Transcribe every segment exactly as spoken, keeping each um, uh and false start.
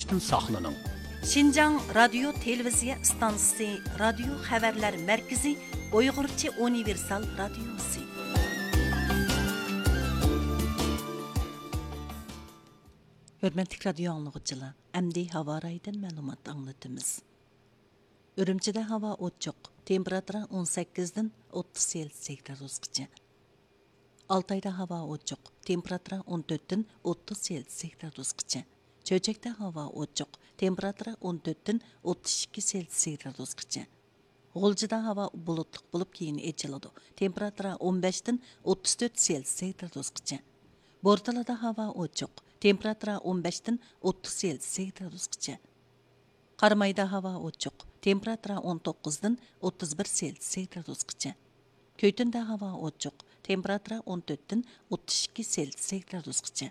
ساقلىنىڭ. شىنجاڭ رادىيو تېلېۋىزىيە ئىستانسىسى، رادىيو خەۋەرلەر مەركىزى، ئۇيغۇرچە ئۇنىۋېرسال رادىيوسى. ھۆرمەتلىك رادىيو ئاڭلىغۇچىلار، ئەمدى ھاۋا رايىدىن مەلۇمات ئاڭلىتىمىز. ئۈرۈمچىدە ھاۋا ئوچۇق، تېمپېراتۇرا ئون سەككىزدىن ئوتتۇز سېلسىيەس گرادۇسقىچە. ئالتايدا ھاۋا ئوچۇق، تېمپېراتۇرا ئون تۆتتىن ئوتتۇز سېلسىيەس گرادۇسقىچە. چۆچەكتە ھاۋا ئوچۇق، تېمپېراتۇرا ئون تۆتتىن ئوتتۇز ئىككى سېلسىيەس گرادۇسقىچە. غۇلجىدا ھاۋا بۇلۇتلۇق بولۇپ، كېيىن ئېچىلىدۇ. تېمپېراتۇرا ئون بەشتىن ئوتتۇز تۆت سېلسىيەس گرادۇسقىچە. بورتالادا ھاۋا ئوچۇق، تېمپېراتۇرا ئون بەشتىن ئوتتۇز سېلسىيەس گرادۇسقىچە. قارامايدا ھاۋا ئوچۇق، تېمپېراتۇرا ئون توققۇزدىن ئوتتۇز بىر سېلسىيەس گرادۇسقىچە. كۆيتۈندە ھاۋا ئوچۇق، تېمپېراتۇرا ئون تۆتتىن ئوتتۇز ئىككى سېلسىيەس گرادۇسقىچە.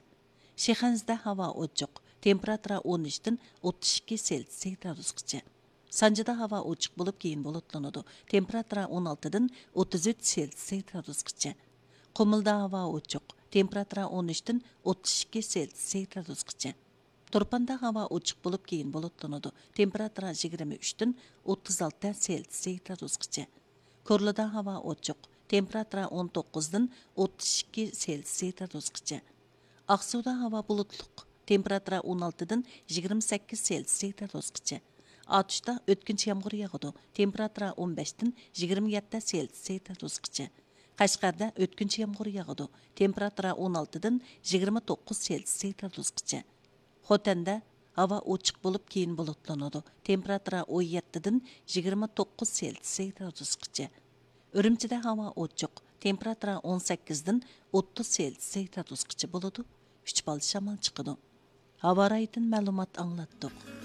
شىخەنزىدە ھاۋا ئوچۇق، تېمپېراتۇرا ئون ئۈچتىن ئوتتۇز ئىككى سېلسىيەس گرادۇسقىچە. سانجىدا ھاۋا ئوچۇق بولۇپ، كېيىن بۇلۇتلىنىدۇ. تېمپېراتۇرا ئون ئالتىدىن ئوتتۇز ئۈچ سېلسىيەس گرادۇسقىچە. قۇمۇلدا ھاۋا ئوچۇق، تېمپېراتۇرا ئون ئۈچتىن ئوتتۇز ئىككى سېلسىيەس گرادۇسقىچە. تۇرپاندا ھاۋا ئوچۇق بولۇپ، كېيىن بۇلۇتلىنىدۇ. تېمپېراتۇرا يىگىرمە ئۈچتىن ئوتتۇز ئالتە سېلسىيەس گرادۇسقىچە. كورلىدا ھاۋا ئوچۇق، تېمپېراتۇرا ئون توققۇزدىن ئوتتۇز ئىككى سېلسىيەس گرادۇسقىچە. ئاقسۇدا ھاۋا بۇلۇتلۇق، تېمپېراتۇرا ئون ئالتىدىن يىگىرمە سەككىز سېلسىيەس گرادۇسقىچە. ئاتۇشتا ئۆتكۈنچى يامغۇر ياغىدۇ، تېمپېراتۇرا ئون بەشتىن يىگىرمە يەتتە سېلسىيەس گرادۇسقىچە. قەشقەردە ئۆتكۈنچى يامغۇر ياغىدۇ، تېمپېراتۇرا ئون ئالتىدىن يىگىرمە توققۇز سېلسىيەس گرادۇسقىچە. خوتەندە ھاۋا ئوچۇق بولۇپ، كېيىن بۇلۇتلىنىدۇ، تېمپېراتۇرا ئون يەتتىدىن يىگىرمە توققۇز سېلسىيەس گرادۇسقىچە. ئۈرۈمچىدە ھاۋا ئوچۇق، تېمپېراتۇرا ئون سەككىزدىن ئوتتۇز سېلسىيەس گرادۇسقىچە بولىدۇ، ئۈچ بال شامال چىقىدۇ. ھاۋا رايىدىن مەلۇمات ئاڭلاتتۇق.